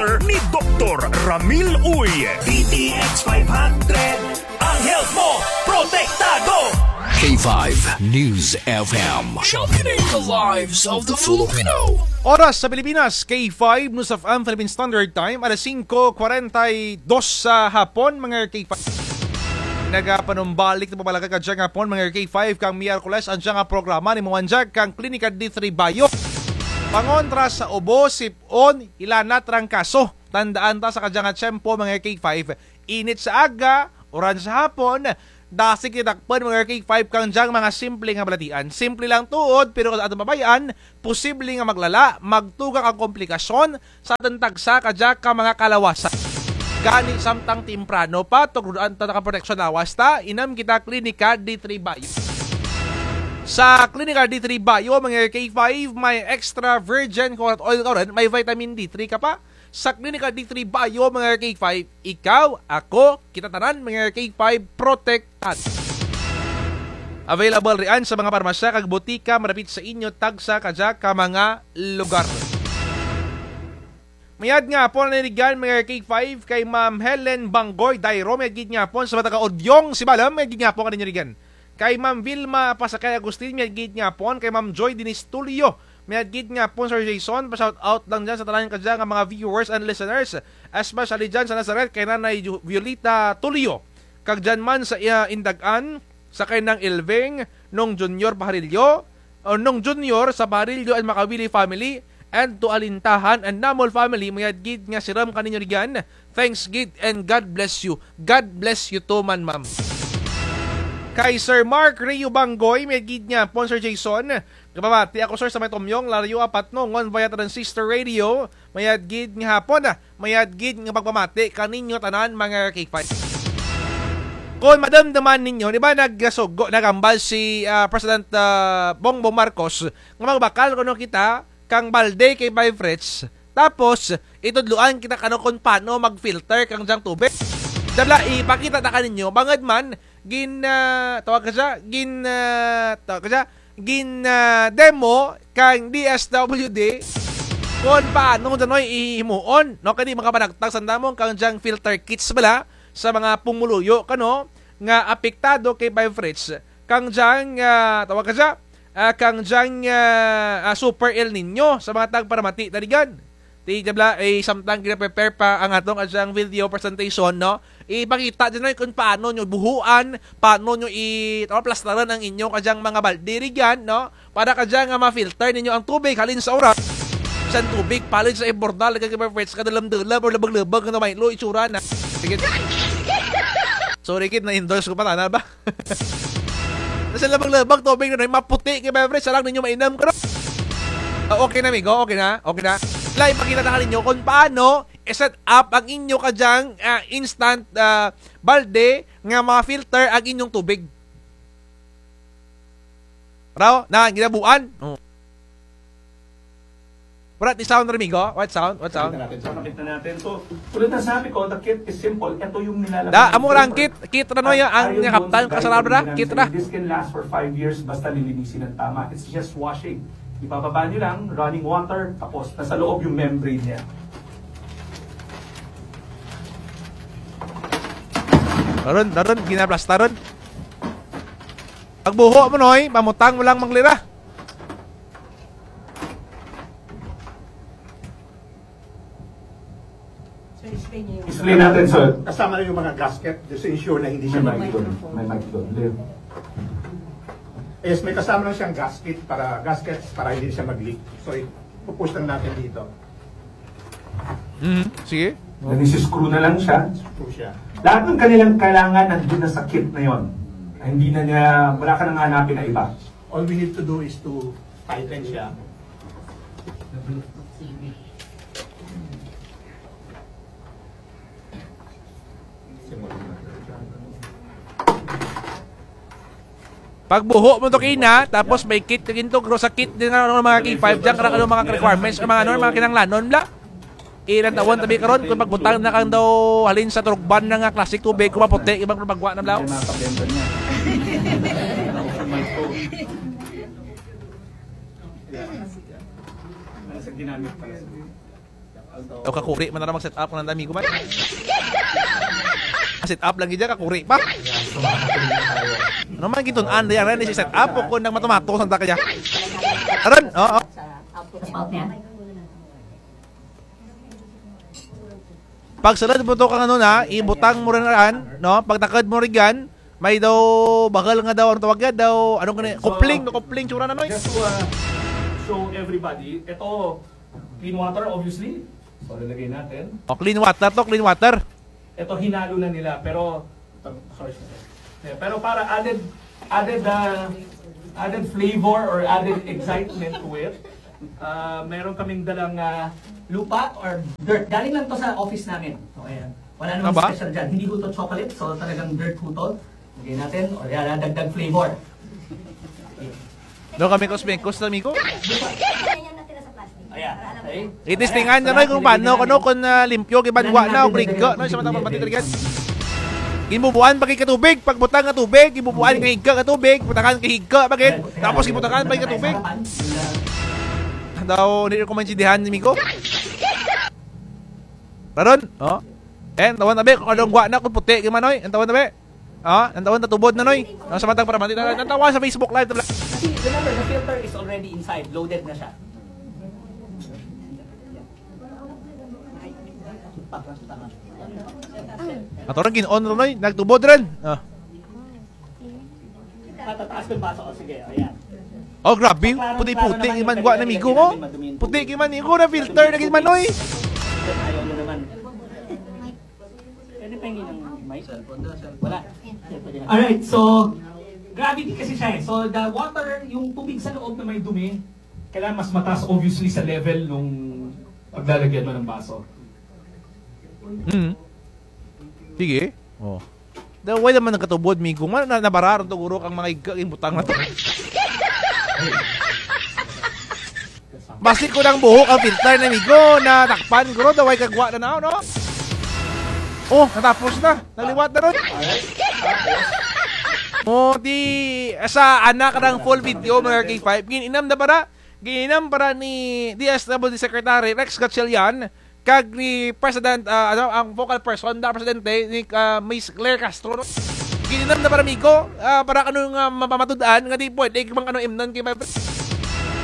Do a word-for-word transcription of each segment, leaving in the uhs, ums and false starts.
ni Doktor Ramil Uy. D T X five hundred, ang health mo, protektado! K five News F M. Championing the lives of the Filipino. Oras sa Pilipinas, K five News F M Philippine Standard Time, alas singko kwarenta y dos sa hapon, mga K five. Nagapanumbalik ta pagpalagad kadya nga hapon, mga K five, kang Miyerkules, ang dya nga programa ni Muwanjag kang Klinika D three Bayo. Pangontra sa ubo, sip-on, hilanat, trangkaso. Tandaan ta sa kadya nga tiyempo, mga K five, init sa aga, uran sa hapon, dasi ti dakpun, mga K five, kang dyang mga simple nga balatian. Simple lang tuod, pero kon atun pabay-an, posible nga maglala, magtugang ang komplikasyon sa atun tagsa kadya ka mga kalawasan. Gani samtang temprano pa, tugroan ta nakaproteksyon lawas ta, inum kita Klinika D three Bayo. Sa Klinika D three Bayo, mga K five, may extra virgin coconut oil ka run, may vitamin D three ka pa. Sa Klinika D three Bayo, mga K five, ikaw, ako, kita tanan, mga K five, protektado. Available rian sa mga parmasya kag botika malapit sa inyo tagsa kadya ka mga lugar. Mayad nga hapon, nanirigan, mga K five, kay Ma'am Helen Banggoy Dairo, mayad gid nga hapon sa mga taga-Udyong, Sibalom, mayad gid nga hapon kaninyo rigan. Kay Ma'am Vilma Pasakay Agustin, mayad gid nga hapon. Kay Ma'am Joy Denise Tulio, mayad gid nga hapon, Sir Jason. Pa-shout out lang dyan sa tanan kadya nga mga viewers and listeners, especially dyan sa Nazareth kay Nanay Ju-, Violeta Tulio. Kag dyan man sa, ah, Indagan, sa kay Nang Elving, Nong Junior Paharillo, o Nong Junior sa Paharillo and Makawili family, and to Alintahan and Namol family, mayad gid nga sirum kaninyo rigan. Thanks gid and God bless you. God bless you too man, ma'am. Kay Sir Mark Rio Banggoy, mayad gid nga hapon, Sir Jason. Gapamati ako, sir, sa may Tomyong, Lario, Apatnongon, via Transistor Radio. Mayad gid nga hapon, ah. Mayad gid nga pagpamati kaninyo tanan, mga K five. Kon madumduman ninyo, di ba, nagsugo, naghambal si, ah, President, ah, Bongbong Marcos nga magbakal kuno kita kang balde, K five Fritz. Tapos, itudloan kita kano kon paano mag-filter kang dyang tubig. Dyan bala, ipakita ta kaninyo, bangud man, gin, ah, tawag ka dya, gin, ah, tawag ka dya, gin, ah, demo kang D S W D kon paano dyan, oy, hihimuon, no? Kay di makapanagtag sanda mo kang dyang filter kits bala sa mga pumuluyo kano nga apektado kay K five Fritz. Kang dyang, ah, tawag ka dya, ah, kang dyang, ah, ah, Super El Niño sa mga tagparamati, tarigan. Ti dyan bala, eh, samtang gina-prepare pa ang atun kadyang video presentation, no? Ipakita dyan, oy, kon paano nyo buhuan, paano nyo i-, tawag, plastarun ang inyo kadyang mga balde rigan, no? Para kadya nga ma-filter ninyo ang tubig halin sa uran. Sa tubig, palid sa imburnal, nagkakipay Fritz, kadulum-dulum, o lubug-lubug, ano, may lo, itsura na. Sige. Sorry, kit, na-endorse ko pa, tana ba? Sa lubug-lubug, tubig na, maputi, K five Fritz, sarang ninyo mainum, karo. Ah, okay na, amigo, okay na, okay na. Lai, ipakita ta kaninyo kon paano i-set up ang inyo kadyang, ah, instant, ah, balde nga ma-filter ang inyong tubig. Raw, na, ginabuan. Oh. Wala ti sound, amigo. What sound? What sound? Pakita natin. Pakita natin. So, tulad ng sabi ko, the kit is simple. Ito yung nilalagay. Da, amo ra ang kit, kit ra, no, ya, ang kaptan, kasarado ra, kit ra. This can last for five years, basta lilinisin ng tama. It's just washing. Ibababa nyo lang, running water, tapos nasa loob yung membrane niya. Daron, daron, ginaplastaron. Pagbuho mo, Noy, pamutang mo lang manglira. So, explain niyo yung... Explain natin, sir. Kasama na yung mga gasket, just to ensure na hindi siya... May mic doon. May mic doon. Yes, may kasama lang siyang gasket para, gaskets para hindi siya mag-leak. So, i-push lang natin dito. Mhm, sige. Nag-screw na lang siya. Screw siya. Lahat ng kanilang kailangan nandun na sa kit na yon. Hindi na niya, wala ka nang hanapin na iba. All we need to do is to tighten siya. Pagbuho mo to kina, tapos may kit ka gintugro sa kit din nga, ano, mga K five dyan, karang, ano, mga requirements, o mga, ano, mga kinahanglanon bala. Ilantawon tabi karon kon pagbutang na kang daw halin sa turugban na nga klaseng tubig, kon maputi, ibang pagwa na bala. Sa ginamit pala sa O, kakuri man na lang mag-set up kung nanda, amigo man. Set up lagi dyan, kakuri pa. Ano man, gintun-an, dyan, rin, si set up, o kung nang matumato, sanda kaya. Aron, oo. Pagsulod mo to kang ano na, ibutang mo rin raan, no? Pagtakod mo rin yan, may daw, bahal nga daw, ang tawag yan, daw, anong gani, kopling, no, kopling, tsura na, no? Just to, uh, show everybody, ito, clean water, obviously. So, lalagay natin. O, clean water to, clean water. Ito, hinalo na nila, pero, ito, sorry, sorry. Yeah, pero para added, added, uh, added flavor or added excitement to it, uh, meron kaming dalang, uh, lupa or dirt. Galing lang to sa office namin. So, ayan. Wala namang special dyan. Hindi ho to chocolate, so talagang dirt ho to. Lagay natin, o yan, dagdag flavor. Daw kami kusmikos, amigo. Ayan, okay. Itistingan na, no, kung paano, kung, ah, limpyo, gid man gwa na, o rigka, no, sa mga pamati talaga. Ginbubuan pa gid ka tubig, pagbutang ka tubig, ginbubuan ka higka ka tubig, butangan ka higka pa gid, tapos ginbutangan pa gid ka tubig. Daw, hindi ko maintindihan, amigo. Raron, o. Eh, an tawon na bi, kung anong gwa na, kung puti, gid man, oy. An tawon na bi. Ah, an tawon na tubod na, noy. Ang sa matag para mati na, an tawon sa Facebook Live. Kasi, remember, the filter is already inside, loaded na siya. Ato rin, gin-on rin, noy. Nagtubod rin. Ah. Patataas ko yung baso. O, sige, ayan. O, grabe. Puti-puti, gid man gwa na, amigo, o. Puti, gid man, amigo, na filter na, gid man, oy. Ayaw mo naman. Pwede pahingin ng mic? Wala. Alright, so, gravity kasi siya eh. So, the water, yung tubig sa loob na may dumi, kailangan mas mataas, obviously, sa level nung paglalagyan mo ng baso. Mm. Sige. O. Daw, wala man nagkatubod, migo. Ma-, na-, nabara ron to, guro, kang mga higka, ginbutang na to. Basi ko nang buhok ang filter na, migo, natakpan, guro, daw, way kagwa na na, no? O, natapos na. Nagliwat na ron. O, di, sa anak ng full video, mga K five, gin-inam na para, gin-inam para ni D S W D Secretary Rex Gatchalian, kag ni President, ah, ano, ang focal person, da presidente, ni, ah, Miss Claire Castro, no? Gin-inam na para, migo, ah, para kano nga mapamatud-an, nga di pwede, mang ano, imnon kay,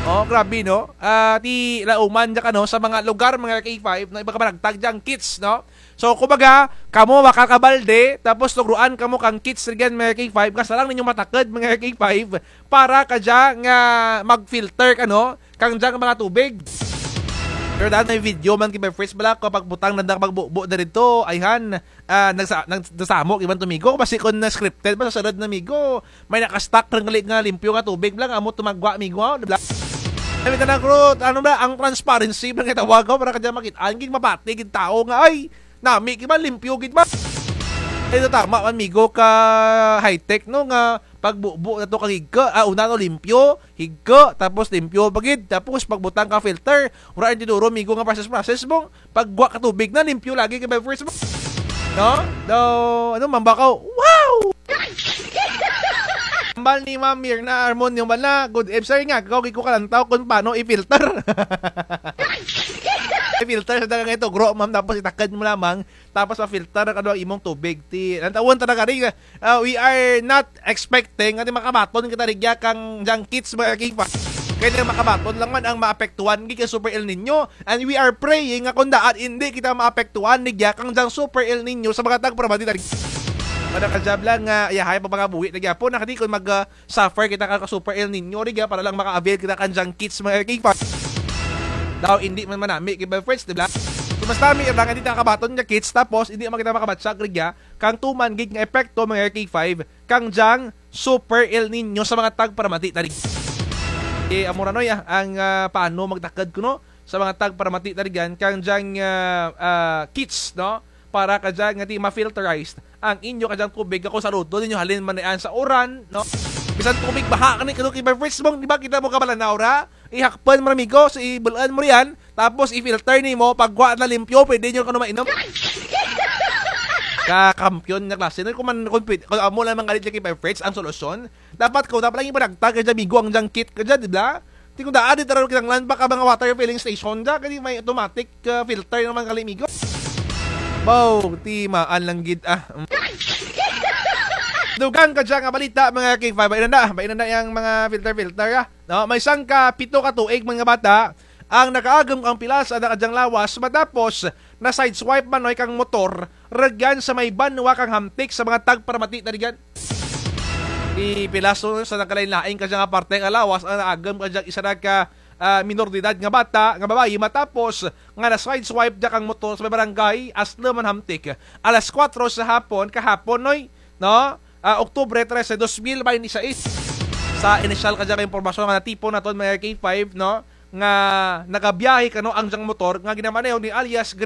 o, grabe, no? Ah, ti lauman dya kano, sa mga lugar, mga K five, no? Iba ka managtag dyang kits, no? So, kumbaga, kamo makakabalde, tapos tugroan kamo kang kits rugyan, mga K five, kasta lang ninyo matakod, mga K five, para kadya nga mag-filter kano, kang dyang mga tubig. Pero daan may video man, kay First bala, kapag butang nanda magbubo na rin to, ayhan, ah, nagsa-, nag-, nagsamo, iban to, migo, basi kung na-scripted, masasunod na, migo, may naka-stock rin gali nga limpyo nga tubig lang, amo tumagwa, migo, o, di bala? Ay, may tanang, ano bala, ang transparency, bala nga tawag, o, para kadya makit-an, gid mabati, gid tao nga, ay, nami, gid man, limpyo, gid man. Ay, tama man, migo, ka high-tech, no, nga pagbubo na to kang higka, ah, una, no, limpyo, higka, tapos limpyo pa gid, tapos pagbutang ka filter, wara rin tinuro, migo, nga process, process mo, pagwa ka tubig na, limpyo lagi kay by first mo. No? Daw, ano, mambakaw, wow! Ambal ni Ma'am Mirna Armonio bala, good evening, sir, nga, ikaw, gid ko kalantaw kung paano i-filter. I-filter sa dagang ito, gro, ma'am, tapos itakad mo lamang, tapos ma-filter na kano ang imong tubig. Ti, ang tawon talaga rin, ah, we are not expecting nga ti makabaton kita rugya kang dyang kits, mga K five. Kay ti makabaton lang man ang maapektuhan gid kang Super El Niño. And we are praying nga kung daan indi kita maapektuhan rugya kang dyang Super El Niño sa mga tagparamati ta rugya. Para kadya bala nga, yahay pa mga buhi na gyapon, na kadi kung mag, ah, suffer kita ka Super El Niño rugya para lang maka-avail kita kang dyang kits, mga K five. Daw, indi man manami kay by first, di bala? So, mas nami lang, indi ta kabaton nga kits, tapos indi man kita makabatyag rugya kang tuman gid nga epekto, mga K five, kang dyang Super El Niño sa mga tagparamati ta rugya. Eh, amo ra, noy, ah, ang, ah, paano magtakod kuno sa mga tagparamati ta rugyan kang dyang, ah, ah, kits, no? Para kadya nga ti ma-filterized ang inyo kadyang tubig, kung sarudo ninyo halin man dyan sa uran, no? Bisan tubig baha kani, kano kay by first mong, di ba, kita mo kabalanaw ra? Ihakpan mo ra, migo, so ibul-an mo riyan, tapos i-filter nimo, pagwa na limpyo, pwede nyo kano mainom. Kakampyon nga klase, no? Kung man, kung pwede, kung amo lang mga galit kay by first ang solusyon, dapat kung dapat lang ipanagtag kadya, migo, ang dyang kit kadya, di ba? Ti kon daan, di tara kinahanglan pa ka mga water filling station dya, kay may automatic, ah, filter naman kali, migo. Baw, ti maan lang gid, ah. Mm. Dugang kadya nga balita, mga K five, bain nanda, bain nanda yang mga filter-filter, ah. No, may sangka pito ka tuig man nga bata ang nakaagom kang pilas sa kadyang lawas matapos na-sideswipe man, Noy, kang motor rugyan sa may banwa kang Hamtic sa mga tagparamati ta rugyan. Ti pilas, no, sa nagkalain-lain kadya nga parte nga lawas ang naagom kadya isara ka, ah, minor de edad nga bata, nga babayi, matapos nga na-sideswipe dya kang motor sa may barangay Aslo man, Hamtic. Alas kuwatro sa hapon, kahapon, Noy, no? Ah, Oktubre trese, dos mil baynte sais. Sa inisyal kadya nga impormasyon nga natipon naton, mga K five, no, nga nagabiyahe kano ang dyang motor nga ginamaneho ni alias Greg